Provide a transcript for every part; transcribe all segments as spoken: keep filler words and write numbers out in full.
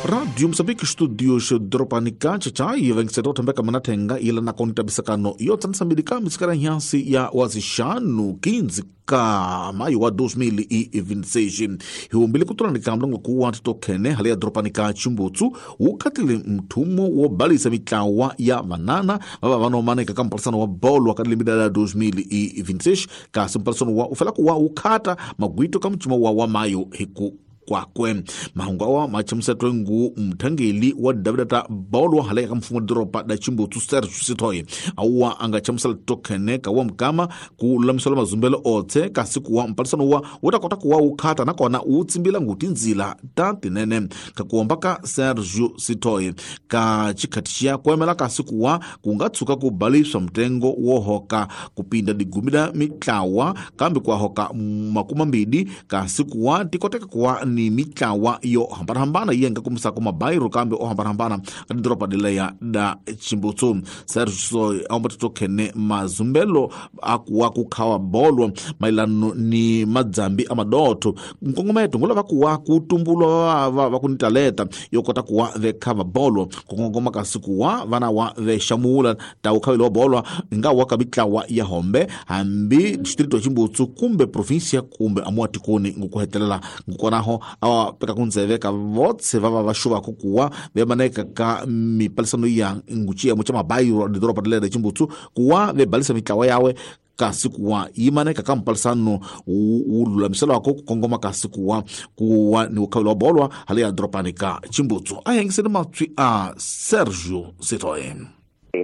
Radio Mozambique Studios Dropanika chachai vengiseta uthembeka manathenga ila nakoni tabisakano yo tsanisa misikara nhansi ya wazixanu quinze ka maio wa dois mil e vinte e seis hiumbile kutulanika mlongo kuwa titokhene hali ya Dropanika Chimbutsu wukhatile mthumo wobalisa mitlawa ya vanana vava vanomaneka ka mpalisano wa bolo wakadilimida la dois mil e vinte e seis kasi mpalisano wa ufela kuwa wukhata magwito ka mcimo wa wa maio hiku kwakwe mahungu awa machamusetwe ngu mthangeli wa davidata bolo haleka mfumo doropa da Chimbutsu Sergio Sitoy awa anga chamusela tokhene kawa mkama ku lulamisela mazumbelo otse kasi kuwa mpalisano wa wutakota kuwa wukhata nakona wutsimbila nguti nzila ta tinene kakuomba ka Sergio Sitoy ka chikhati xiya kuemela kasi kuwa kungatsuka ku baliswa mtengo wohoka kupinda digumi la mitlawa kambe kuwahoka makumambili kasi kuwa tikoteka kuwa ni mitlawa yo hambanahambana yenga kumisako mabairo kambe o hambanahambana adidoropa dileya da Chimbutsu Sergio aombatitokhene mazumbelo akuwa kukhawa bolo mailano ni madzambi amadotho nkongometo ngulava kuwa kutumbulwa vakunitaleta yokota kuwa vekhava bolo kukongoma kasi kuwa vana wa vexamula ta ukhawile wa bolo nga wa ka mitlawa ya hombe hambi distrito ya Chimbutsu kumbe provinsia kumbe amua tikoni ngukuhetelela ngukonaho awa peka kunzeveka votse vava vaxuvako kuwa vemaneka ka mipalisano ya nguciya mucha mabairo didoropa dilera Chimbutsu kuwa vebalisa mitlawa yawe kasi kuwa yimaneka ka mpalisano wu lulamiselwako kukongoma kasi kuwa kuwa ni ukhawile wa bolwa hali ya doropani ka Chimbutsu a hengiseni matswi a Sergio Sitoy.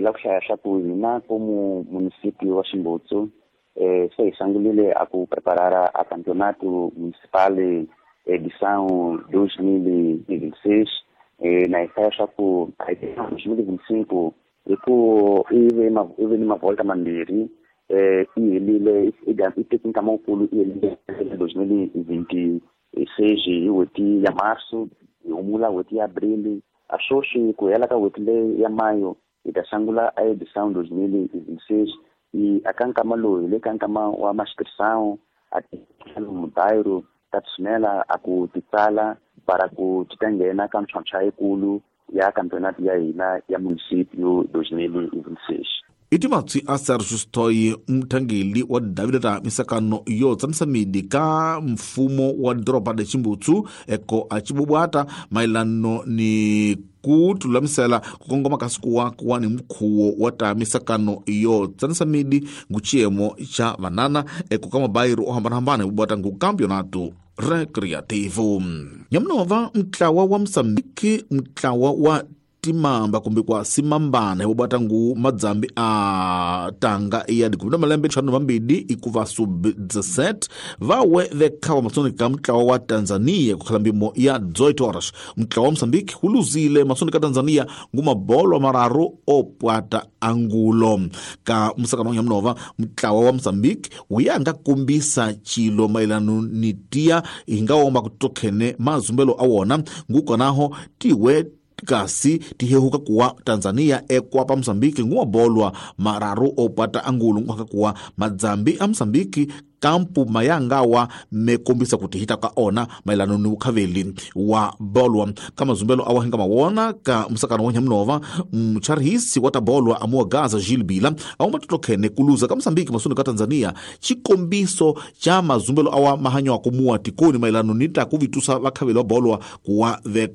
La ku hlaya swa ku hina como município wa Chimbutsu eh, se hi sungulile a ku preparar a campeonato municipal edição dois mil e vinte e seis, eh, na hlaya swa ku a dois mil e vinte e cinco hi ku i ve ma i ve ni mavolta mambirhi eh, i helile i teke nkama wukulu i helile dois mil e vinte e seis hi n'hweti ya março hi humula n'hweti ya abril a sweswi ku hela ka n'hweti leyi ya mayo hi ta sungula a edição dois mil e vinte e seis e a ka nkama lowu hi le ka nkama wa mascrição a mubairo ta tshinela a ku titsala para ku ti ta nghena ka mintlhontlho yikulu ya campeonato ya hina ya município dois mil e vinte e seis. Iti matswi a Sergio Sitoy mthangeli wa davidata misakano yo tsanisa midi ka mfumo wa doropa da Chimbutsu eko a chibubwata mailano ni kutulamisela kukongoma kasi kuwa kuwa ni mkhuwo wa ta misakano yo tsanisa midi nguchiemo cha vanana eko ka mabairo o hambanahambana bubwata ngu campeonato recreativo. Nyamnova mtlawa wa Msambiki mtlawa wa timamba kumbe kwa simambana hobata ngu madzambi a tanga ya dikumi na malembe ntlhanu mambili ikuva sub dezessete vawe vekhawa masoni ka mtlawa wa Tanzania kukhala mbimo ya dezoito horas. Mtlawa wa Mozambique huluzile masoni ka Tanzania ngu mabolo mararu opwata angulo ka musakano ya mnova mtlawa wa Mozambique uyanga kumbisa chilo mailano ni tia ingaomba kutokhene mazumbelo awona ngukonaho tiwe kasi tihehuka kuwa Tanzania ekwapa Mozambique nguwabolwa mararu opata angulu nguhaka kuwa madzambi a Mozambique kampu mayangawa mekombisa kuti hita ka ona mailano ni ukhaveli wa bolwa kama zumbelo awahinga mawona ka musakano wa nyamnova mcharhisi wa tabolwa amua Gaza Gilbila auma tutokhene kuluza ka Mozambique masuni ka Tanzania chikombiso cha mazumbelo awa mahanyo akumua tikoni mailano nita kuvitusa vakhaveli wa bolwa kuwa ve